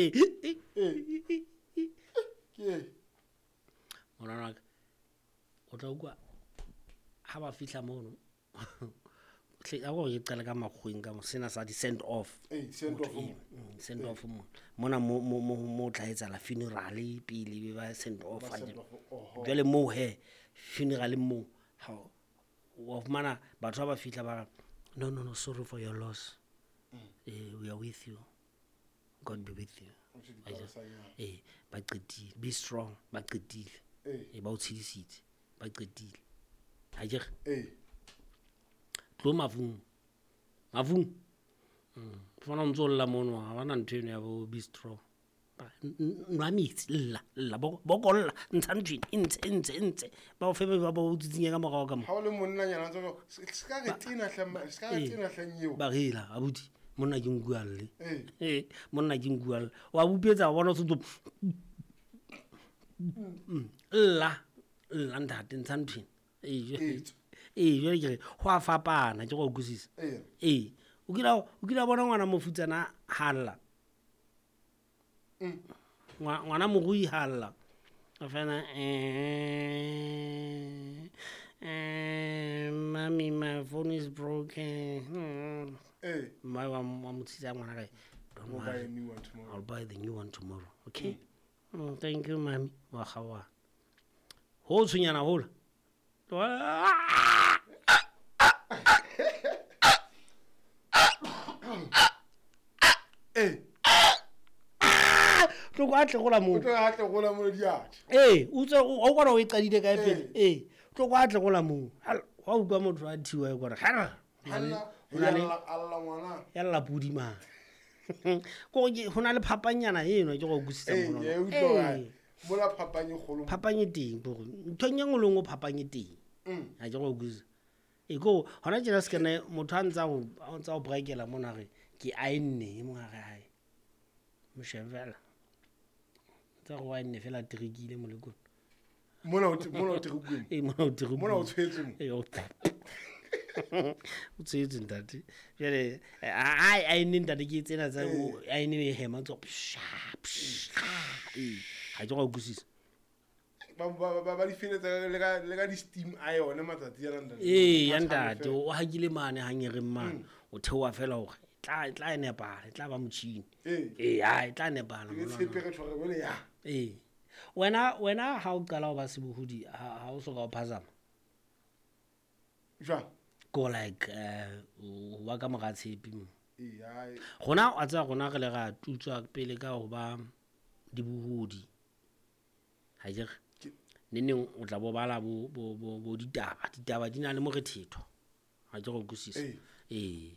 Ke Morana wa ka, o tla utlwa ha ba fihla mono. Hle, a ko ke qale ka makgoweng ka mo sena sa di-send off. Ee, send off mo. Send off mo. Mona mo tla etsahala funeral pele be ba send off. Ba send off, oho. Jwale moo he, funeral moo, ha wa fumana batho ba ba fihla ba re, no, no, no, sorry for your loss. We are with you. God be with you. O tjho dipalesanyana. Ba qetile. Be strong, ba qetile. Ee. Ba o tshedisitse, ba qetile. Ha ke re? Ee. Tlo mafung. Mafung. Fana o ntso lla mono, ha bana ntho eno ya bo be strong. Ba, nwa metsi, lla, lla, bokolla, ntsha ntho ena, e ntshe, e ntshe, e ntshe. Ba o fe ba ba o tsitsinye ka morao ka mo. Ha o le monnanyana, o ntso re, se ka re tena hle, ma, se ka re tena hle nyeo. Ba re ela, abuti, monna ke nku a lle. Ee. Ee, monna ke nku a lle. Wa bupetsa, wa bona o sentse lla, lla ntate, ntsha ntho ena. Ee, jwale Ee. ee, jwale ke re, ho a fapana, ke go utlwisisa. Ee. Ee. O kile wa bona ngwana mofutsana ha lla? Ngwana morui ha lla. A fela, mommy, my phone is broken. Ee. Mme wa mo tshisa ngwana kae? Don't We'll buy worry. a new one tomorrow. I'll buy the new one tomorrow. Okay? Thank you, mommy. Wa kgaoha. Ho tshwenyana hola. Ee. Tlo kwa tle gola moo. O tlo a tle gola moo diatla. Ee, o tswe o kwana o e qadile kae pele? Ee. Ee, tlo kwa tle gola moo. Hal, wa utlwa motho a thiwa e kwana. Hal. Halla, Ho na le ya lla, a lla ngwana. Ya lla pudi mane. Ko ke ho na le phapanyana eno ke go utlwisisa Ee, mono. ke a utlwa Ee. hore mola phapang e kgolo. Phapang e teng, bo re, ntho e nngwe le nngwe phapang e teng. Ha ke go utlwisisa. E ko hona tjena se kene motho a ntsa o, a ntsa o brakela mona re ke aenne e mong a re hae. Mo shebe fela. Tsa go aenne fela trikile molekone. Mona o mona o trikueng. Ee, mona o trikueng. Mona o tshwetse mo. Ee, o o tshwetse ntate. Jwale, a aenne ntate ke tsena tsa o aenne e hema tsa psha, psha. Ee, ha ke go utlwisisa. Ba di feletsa le ka di-steam a yone matsatsi ana, ntate. Ee, ya Ba tshabe ntate, fela. o hakile mane hangereng mane. O theoha fela hore e tla nepahala, e tla ba motjhini. Ee. Ee, ha, e tla nepahala, Ke monna. tshepe re tshware jwale ya. Ee. Wena ha o qala ho ba sebohodi, ha o soka o phazama? Jwang? Ko like, o ba ka mora tshepe mo. Ee, hai. Rona, wa tseba, rona re le ra tutswa pele ka ho ba dibohodi. Ha ke re? Ke Neneng o tla bo bala bo ditaba. Ditaba di na le morethetho. Ha ke re utlwisisa. Ee. Ee.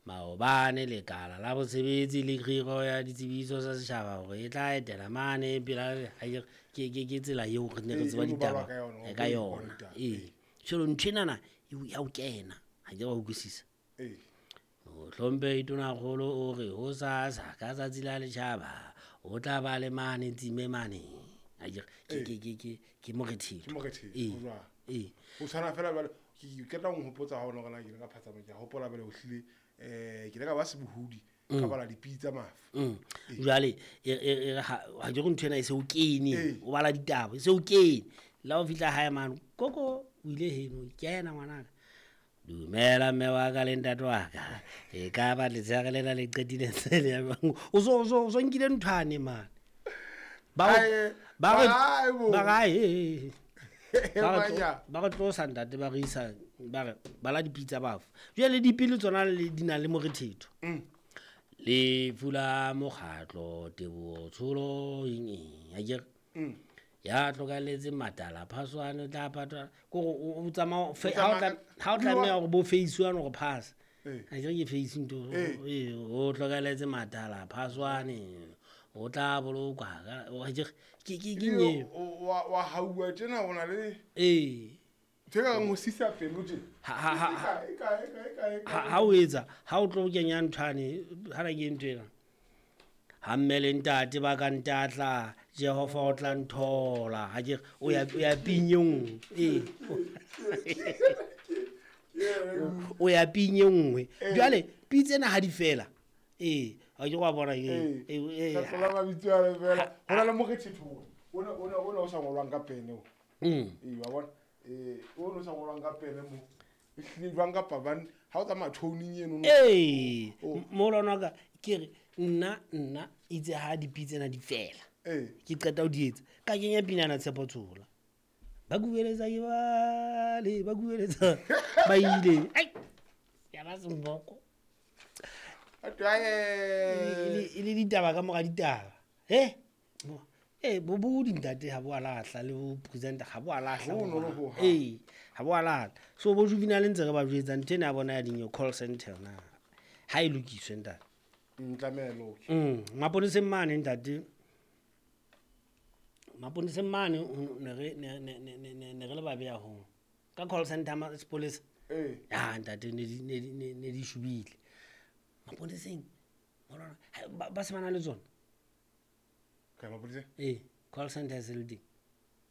Maobane lekala la bosebetsi le kgiro ya ditsebiso tsa setjhaba hore e tla etela mane pela, ha ke re, ke tsela eo re ne re Ee, tseba e no balwa ditaba ka yona, ka ho yona. ditaba. Ee. Jwale ntho enana e o, ya o kena. Ha ke re wa utlwisisa. Ee. Mohlomphehi Tonakgolo o re ho sasa ka tsatsi la letjhaba o tla ba le mane tsime mane. Ha ke re, Ee. ke morethetho. Ke morethetho, Ee. ho jwang? Ee. Ho tshwana fela jwale, ke qeta ho nhopotsa ha ona hore na ke ile ka phatsama, ke a hopola jwale ho hlile, ke ile ka ba sebohodi, ka bala dipitsa tsa mafu. Jwale, e re ha ke re ntho ena e se o kene, Ee. o bala ditaba, e se o kene. Le ha o fihla hae mane, koko, o ile heno, kena ngwanaka. Dumela mme wa ka le ntate wa ka. E ka ba letshehare lena le qetile ntse le ya jwang? O so nkile nthwane mane. Ba re, Ae, ba re, ae bo. ba re, ae, e, e, e. Ba re tlo, Manya. ba re tlosa ntate, ba re isa, ba re, bala dipitsa bafu. Jwale dipele tsona le di na le morethetho. Lefu la mokgatlo, Teboho Tsholo, eng, eng, ha ke re? Ya hlokahalletseng matala, phaswane, o tla patwa. Ke hore o tsamaya o fe-, O tsamaya ha o tla-, ha o tlameha hore bo face one hore pass. Ee. Ha ke re ke face ntho. Ee. Ee, o hlokahalletse matala, phaswane, o tla bolokwa ka, o, ha ke re, ke Ebile eng eo? wa hauwa tjena, o na le Ee. Ntho e ka reng ho sisa pelo tje. Ha, ha, ha, ha. E kae, e kae, e kae, e kae, Ha, ha o etsa, ha o tlo kenya nthwane, ha na ke ntho ena. Ha mme le ntate ba ka ntatla, Jehova o tla nthola. Ha ke re, o ya ping e nngwe. Ee. O ya ping e nngwe. Ee. Jwale, pitse ena ha di fela. Ee, A ke wa bona Ee. ke Kgetlo la mabitso ale fela go na le morethetho ona ona ona o sa ngolwang ka pene o. Ee, wa bona. Ee, o no sa ngolwang ka pene mo. Ehlile jwang kapa bane ha o tsamaya toning eno no. Ee, Oh. moholwane wa ka ke re nna itse ha dipitse tsena di fela. Ee. Ke qeta ho di etsa ka kenya pinana Tshepo Tshola. Ba kubeletsa ke bale, ba kubeletsa ba ile. Ai. Ya ba semboko. A twe, ae. E le ditaba ka mora ditaba. He? Ee, bo dintate ha bo a lahla le bo presenter ha bo a lahla. Ho bonolo hohang. Ee, ha bo a lahla. So bo Juvenal ntse re ba jwetsa ntho ena ya bona ya dinyo call center na. Ha e lokiswe ntate. Tlameha e loke. Maponeseng mane ntate. Maponeseng mane ne re ne ne ne ne ne ne re le babe haholo. Ka call center ma sepolesa. Ee. Ya ntate ne di ne di ne ne di shubile. Maponeseng molwana ba se ba na le tsona. Kae mapoleseng? Ee, call center e se le teng.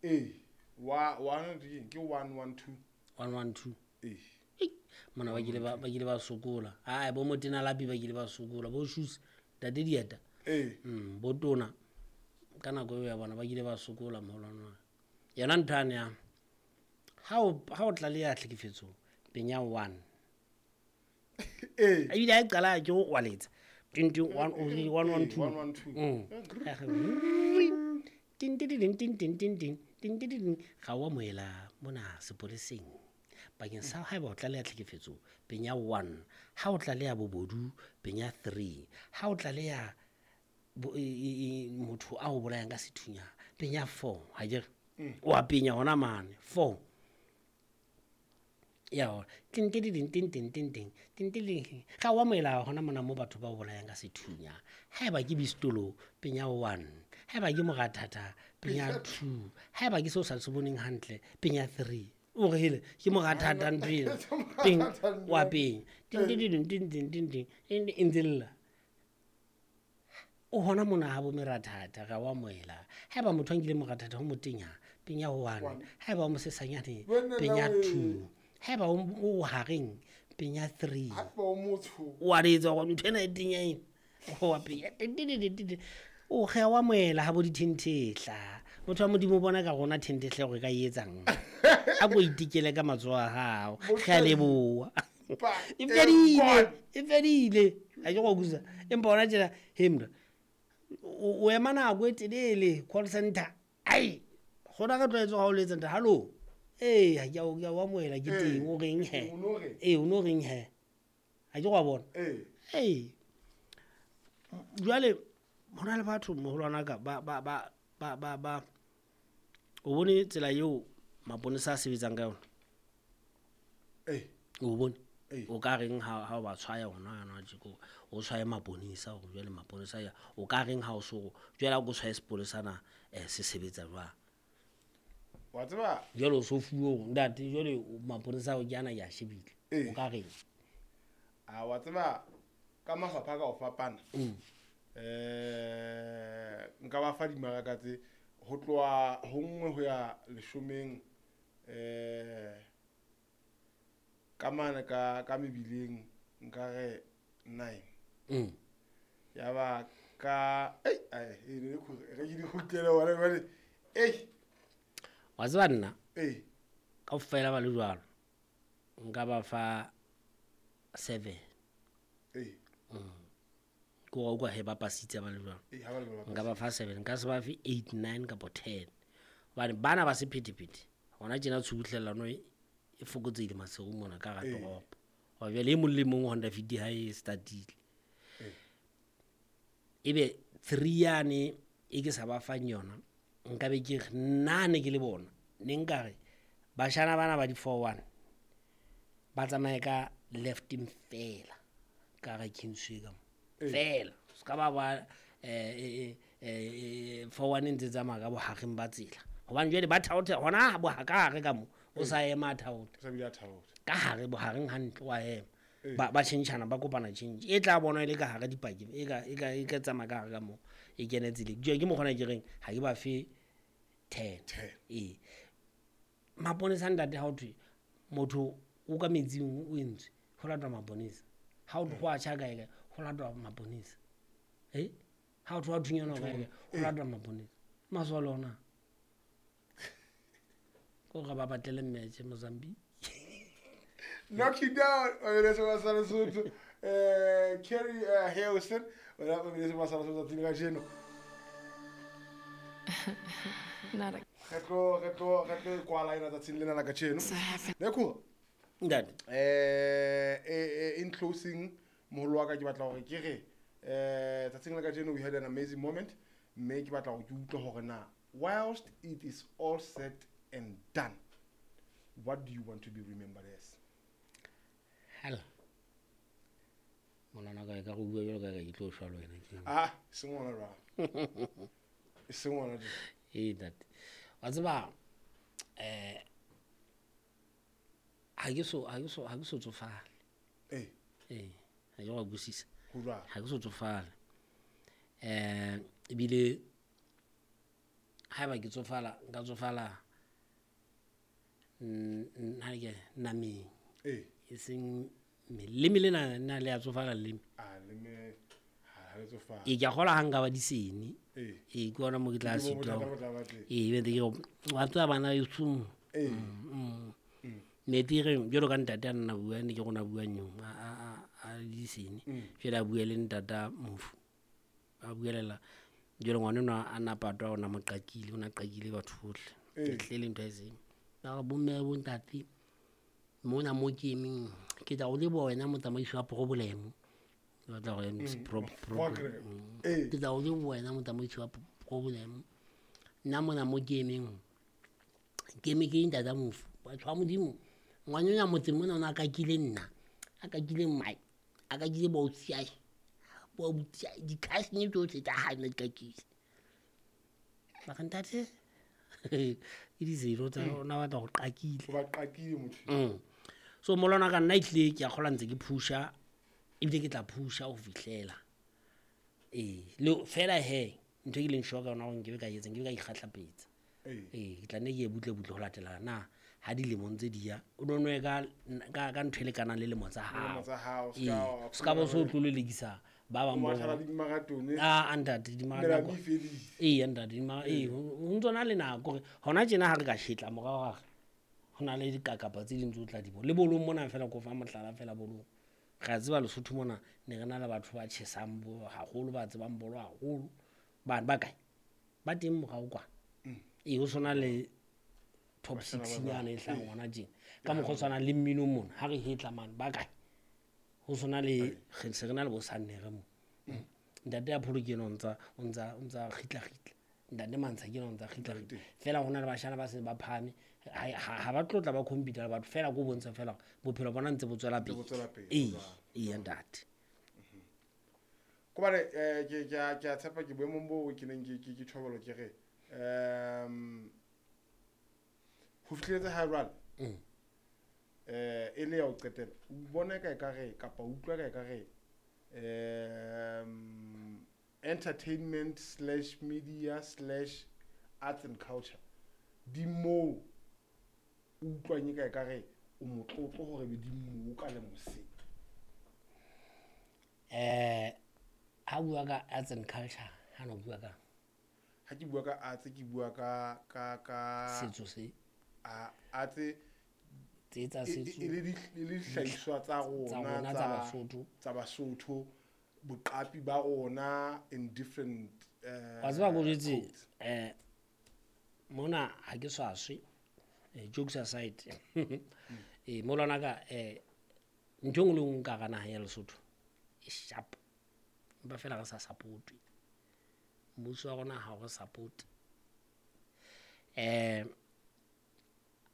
Ee. Wa one ke eng? Ke 112. 112. Ee. Ei, mona ba kile ba sokola. Ai bo motena lapi ba kile ba sokola, bo shoes ntate dieta. Ee. Bo tona ka nako eo ya bona ba kile ba sokola moholwane wa ka. Yona ntho yane ya ha o tlaleha tlhekefetso penya 1. Ee. Ebile ha e qala ke o kwaletsa. Ting ting 1 1 1 2. 112. Ting ting ting ting ting ting ting ting ting ting. Ga o amohela mona sepoleseng. Bakeng sa haeba o tlaleha tlhekefetso penya 1, ha o tlaleha bobodu penya 3, ha o tlaleha motho a o bolayang ka sethunya penya 4. Ha ke re o a penya hona mane 4. Ya hona ting ting ting ting ting ting ting ting ting ting. Ga o amohela hona mona mo batho ba o bolayang ka sethunya. Haeba ke bistolo penya 1, haeba ke morathata penya 2, haeba ke seo sa se boneng hantle penya 3. O re hele ke morathata ntho ena. Peng wa penya. Ting ting ting ting ting ting ting e ntse lla. O hona mona ha bo merathata ga wa amohela. Haeba motho a nkile morathata ho motenya penya 1, haeba o mosesanyane Wena penya we. 2, haeba o hareng penya 3. Haeba o motsho. Wa letsa hore ntho ena e tenya ena. O wa penya. Ting ting ting ting ting. O ge wa amohela ha bo dithenthetla. Motho wa Modimo o bona ka rona thenthehla hore re ka e etsang. A ko itekele ka matsoho a hao. Re a leboha. E fedile, e fedile. Ha ke go kusa. Empa hona tjena he mna. O ema nako e telele call center. Ai, gona re tlwaetse ha o letsa ntate, hallo. Ee, ha ke a o ke a o amohela ke teng, o reng he? O no reng? Ee, o no reng he? Ha ke go a bona. Ee. Ee. Jwale hona le batho moholwana ka ba ba ba ba ba ba o bone tsela eo maponesa a sebetsang ka yona. Ee. O bone? Ee. O ka reng ha o ba tshwaya hona yana tje ko o tshwaye maponesa hore jwale maponesa ya o ka reng ha o so jwale ha o tshwaye sepolesa na se sebetsa jwang? Wa tseba Jwale o so fuwe hore ntate jwale maponesa ao ke ana ke a shebile. Ee. O ka reng? A wa tseba ka mafapha ka ho fapana. Nka ba fa dimaraka tse ho tloha ho 1 ho ya 10 ka mane ka mebileng nka re 9. Ya ba ka ei ai e ne re ke di kgutlele hona jwale. Ei. Wa tseba nna? Ee. Kaofela ba le jwalo. Nka ba fa 7. Ee. Ke wa utlwa he ba pasitse ba le jwalo. Ee, ha ba le jwalo ba Nka ba fa 7, nka se ba fe 8, 9 kapa 10. Hobane bana ba sephethephethe. Hona tjena tshubuhlellano e fokotsehile Maseru mona ka hara Ee. toropo. Hoba jwale e mong le mong Honda Fit ha e startile. Ee. Ebe 3 yane e ke sa ba fang yona, nka be ke re nna ne ke le bona, ne nka re bashana bana ba di 4-1 ba tsamaye ka lefteng fela ka hara Kingsway ka mo. Ee. Fela. Se ka ba ba 4-1 e ntse tsamaya ka bohareng ba tsela. Hobane jwale ba thaotha hona bo ka hare ka mo, o sa ema a thaotha. O sa bile a thaotha. Ka hare bohareng hantle wa ema. Ee. Ba tjhentjhana ba kopana tjhentjhe. E tla bonwa e le ka hare dipakeng, e ka tsamaya ka hare ka mo, e kene tseleng. Jwale ke mokgwa ona ke reng ha ke ba fe 10. 10. Ee. Maponesa ntate ha ho thwe motho o ka metsing o entswe, ho latwa maponesa. Ha ho thwe ho a tjha kae kae, ho latwa maponesa. Ha o tloha thunyana kae o lata maponesa masole ona ko ga ba batlele match Mozambique. Knock you down. Lesotho. Keri Hilson. Not a In closing, we had an amazing moment. Whilst it is all said and done, what do you want to be remembered as? Hell. Ah, someone someone. Hey, that. What's about? I guess so. I guess so far. Eh. Eh. I go busis. I go so far. Ebile ha ba ke tsofala, nka tsofala nna ke nameng. Eh. E seng leme lena nna le a tsofala leme. Ah, leme ha le tsofala. E ke a gola ha nka ba disene. Eh. E ke ona mo ke tla sitwa. E be ke wa tswa bana e tsung. Eh. Ne dire jalo ka ntate a nna bua ne ke gona bua nyong a disene. Fela a bua le ntata mofu. A buelela jalo ngwana no a napatwa ona mo qakile, ona qakile batho bohle. Ke tle le ntho e seng. Ba bomme bo ntate mona mo ke emeng ke tla o le bona motsamaisi wa problem. Ba tla go problem. Ke tla o le bona motsamaisi wa problem. Nna mona mo ke emeng ke eme ke ntata mofu. Batho ba Modimo ngwana ona motseng mona ona kakile nna. A kakile mmae, a kakile bo ausi bo di-cousin tsohle tsa hae ne di kakile. Ba re ntate ke dizero tsa ona batla go qakile. Ba qakile motho. So molona ka nna ehlile ke a kgola ntse ke phusha ebile ke tla phusha ho fihlela. Le fela he ntho e ke leng sure ka yona hore nkebe ka etsa, nkebe ka ikgahlapetsa. Ke tla nne ke ye butle butle ho latela na ha dilemong tse di ya o no nwe ka ntho e lekanang le lemo tsa hao. Se ka bo so tlolelekisa ba bang bo. Ah, ntate di marathon. Ntate di ho ntsona le nako hore hona tjena ha re ka shetla morao ra ho na le dikakapa tse ding tse o tla di bona. Le bolong mona fela ko fa mohlala fela bolong. Re a tseba Lesotho mona ne re na le batho ba tjhesang bo haholo, ba tsebang bolo haholo. Bana ba kae? Ba teng morao kwa. Ho sona le top 6 nyana e hlang hona tjena. Ka mokgwa o tshwanang le mmino mona ha re hetla mane ba kae? Ho sona le re se re na le bo Sannere mo. Ntate ya Pholo ke ena o ntsa kgitla kgitla. Ntate Mantsha ke ena o ntsa kgitla kgitla. Fela hona le bashana ba se ba phahame ha ba tlotla ba computer batho fela go bontsha fela bophelo bona ntse bo tswela pele. Ntate. Ko bale ke a tshepa ke boemong bo ke neng ke thobelo ke re ho fihletse ha jwale e le ya ho qetela o bona ka ekare kapa utlwa ka ekare entertainment /media /arts and culture di mo utlwang ka ekare o motlotlo hore be di mo ka le mose. Ha bua ka arts and culture ha no bua ka ha ke bua ka arts ke bua ka setso se arts tse tsa setso e le dihlahiswa tsa rona tsa Basotho boqapi ba rona in different wa tseba go jetse mona ha ke swaswe jokes aside molona ka ntho e nngwe le nngwe ka gana ya Lesotho e sharp ba fela re sa support mmuso wa rona ha o re support.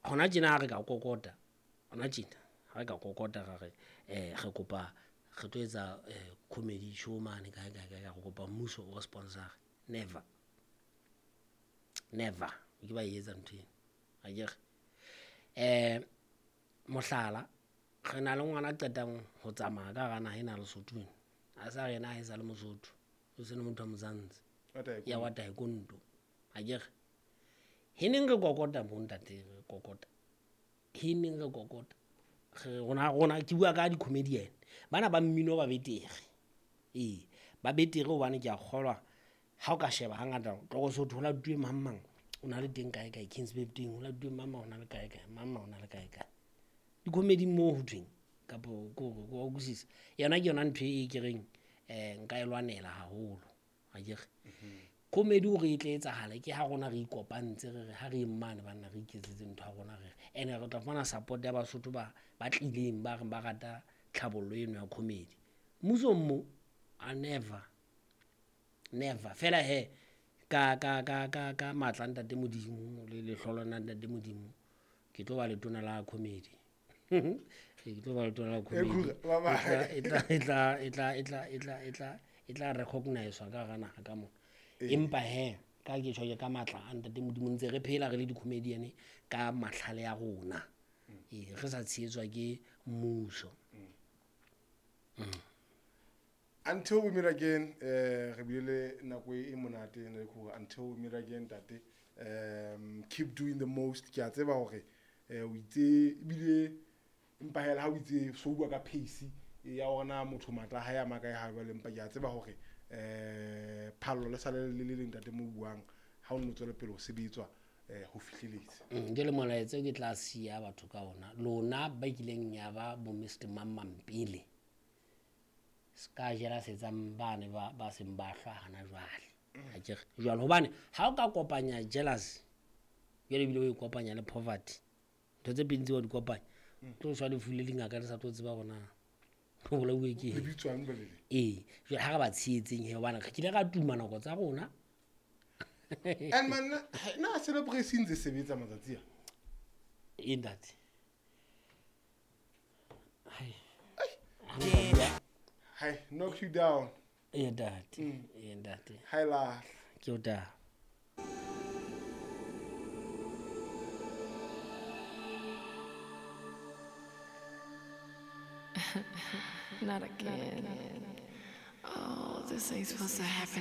Hona tjena ha re ka kokota hona tjena ha re ka kokota ra re re kopa re tlo etsa comedy show mane kae kae kae re kopa mmuso o re sponsor. Never never ke ba etsa ntho eno akere. Mohlala re na le ngwana a qetang ho tsamaya ka hara naha ena Lesotho ena a sa rena ha e sa le Mosotho o se le motho wa Mozantsi ya wa taekwondo akere. He neng re kokota mo ntate re kokota he neng re kokota re rona ke bua ka di-comedian bana ba mmino ba betere. Ba betere hobane ke a kgolwa ha o ka sheba hangata tlo so thola tuwe mang mang o na le teng kae kae Kings Birthday o la tuwe mang mang o na le kae kae mang mang o na le kae kae. Di-comedy mo ho thweng kapo ko wa utlwisisa. Yona ke yona ntho e ke reng nka e lwanela haholo. Akere. Comedy hore e tle etsahale ke ha rona re ikopantse re re ha re mmane banna re iketsetse ntho ya rona re ene re tla fumana support ya Basotho ba tlileng ba reng ba rata tlhabollo eno ya comedy. Mmusong mo a never fela he ka matla ntate Modimo le lehlolo la ntate Modimo ke tlo ba letona la comedy. Ke tlo ba letona la comedy. E tla recognize ka hara naha ka mona. Empa he ka ke tjho ka matla a ntate Modimo ntse re phela re le di-comedian ka mahlale ya rona. Re sa tshehetswa ke mmuso. Until we meet again, re bile le nako e monate le khura. Until we meet again, tate, keep doing the most. Ke a tseba hore o itse ebile empa hela ha o itse so bua ka pace ya hore na motho matla ha ya makae ha jwale, empa ke a tseba hore phallo le sale le le leng tate mo buang ha o no tswela pele ho sebetswa ho fihleletse. Jwale molaetsa ke tla siya batho ka ona lona ba kileng ya ba bo Mr Mammampele ska jela setsang bane ba seng ba hlwa hana jwale. Akere jwale hobane ha o ka kopanya jealous jwale ebile o e kopanya le poverty ntho tse pedi tse wa di kopanya tlo shwa lefu le lingaka le sa tlo tseba hore na ho bolauwe ke eng. Lebitswang bolele. Ee, jwale ha re ba tshehetseng he hobane re kile ra tuma nako tsa rona. And man na celebration ntse sebetsa matsatsi a. E ntate. Hai. Hi, knock you down. Yeah, ntate. Yeah, ntate. Hi la. Ke o ta. Not again. Oh, this ain't supposed to happen.